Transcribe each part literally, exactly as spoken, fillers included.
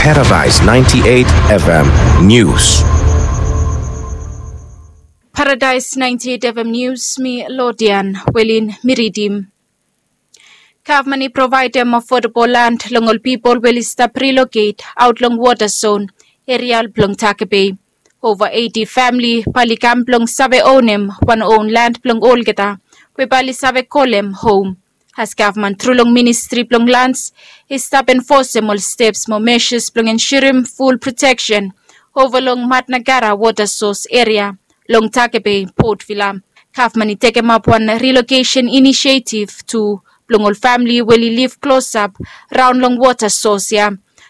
Paradise ninety-eight F M News. Paradise ninety-eight F M News, mi Lodian Welin mi ridim. Gavman i provaedem affordable land long ol pipol we oli stap relocate aot long wota zon eria blong Takape. Ova eighty famili bae oli kam blong save onem wan own land blong olgeta we bae oli save kolem hom. As gavman tru long ministri blong lands i stap enfosem ol steps mo measures blong ensurem ful proteksen ova long Matnagara wota sos eria long Takape, Port Vila. Gavman i tekemap wan relocation initiative tu blong ol famili we oli liv klosap raon long wota sos ya.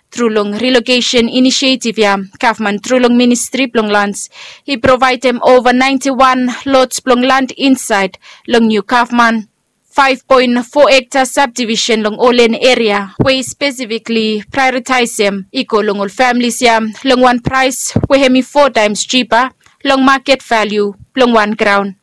Tru long relocation initiative ya, gavman tru long ministri blong lands i provaedem ova ninety-one lots blong land insaed long niu gavman five point four hekta subdivision long Olen eria we i spesifikli prioritaesem i go long ol familis ya long wan praes we hem i four times cheaper long maket valiu blong wan graon.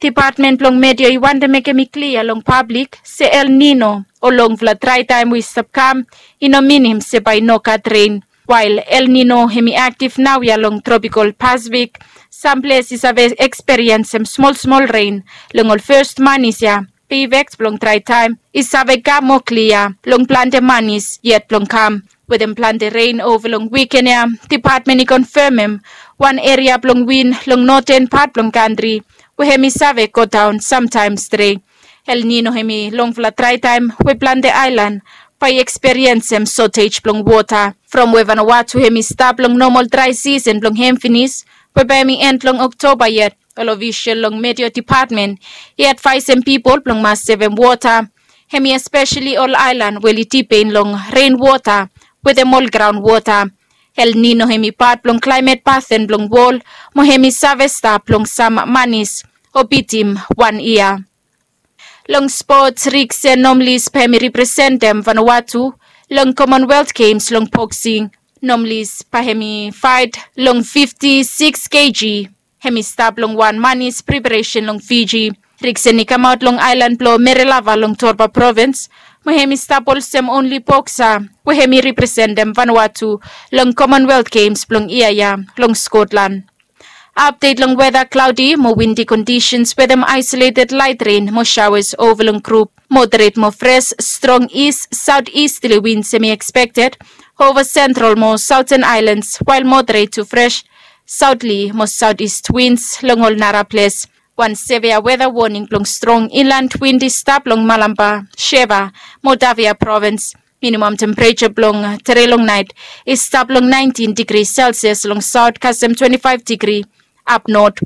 Depatmen blong Meteo i wantem mekem i klia long pablik se El Nino o longfala draetaem we i stap kam i no minim se bae i no gat ren. Wael El Nino hem i aktiv naoia long tropikal Pasifik, sam ples i save eksperiensem smolsmol ren long ol fes manis ya. Be ifek blong draetaem i save kam moa klia long plante manis yet blong kam. Wetem plante ren ova long wiken ya, depatmen i konfemem wan eria blong win long noten pat blong kantri we hem i save godaon samtaem stret. El Nino hem i longfala draetaem we plante aelan bae i eksperiensem sotej blong wota. From we Vanuatu hem i stap long nomal drae sisen blong hem finis, we bae hem i en long Oktoba yet, ol ofisol long Meteo Depatmen i advaesem pipol blong mas sevem wota. Hem i espeseli ol aelan we oli dipen long ren wota wetem ol graon wota. El Nino hem i pat blong klaemet paten blong wol, mo hem i save stap long sam manis o bitim wan yia. Long spots, Riksen Nomlis bae hem i representem Vanuatu long Commonwealth Games long boksing. Nomlis bae hem i faet long fifti sikis keji. Hem i stap long wan manis preparesen long Fiji. Riksen i kamaot long aelan blong Merelava long Torba provins, mo hem i stap olsem onli boksa we hem i representem Vanuatu long Commonwealth Games blong yia ya long Skotlan. Apdet long weta, klaodi mo windi kondisens wetem aesoleted laet ren mo saoas ova long grup. Moderet mo fres strong ist saotisterli wins hem i ekspekted ova sentral mo saoten aelans, wael moderet tu fres saotli mo saotist wins long ol nara ples. Wan sevea weta woning blong strong inland win i stap long Malampa, Sheva, Moldavia provins. Minimam tempereja blong tede long naet i stap long naentin digri Celsius long saot kasem twenti faef digri ap not.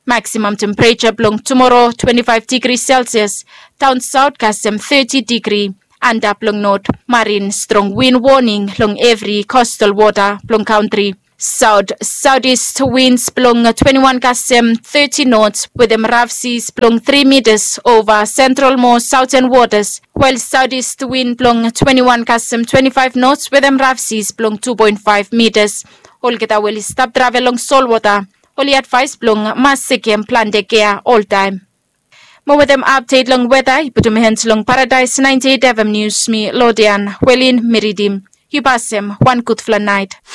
Maksimam tempereja blong tumoro twenti faef digri Celsius daon saot kasem teti digri antap long not. Marin strong win woning long evri kostal wota blong kantri. Saot saotist wins blong twenti wan kasem teti nots wetem raf sis blong tri mitas ova sentral mo saoten wotas, wael saotist win blong twenti wan kasem twenti faef nots wetem raf sis blong tu poen faef mitas. Olgeta we oli stap travel long solwota oli advaes blong mas sekem plante gea oltaem. Mo wetem apdet long weta i putum hens long Paradaes naenti eit F M Nius, mi Lodian Welin mi ridim. Yu pasem wan gudfala naet.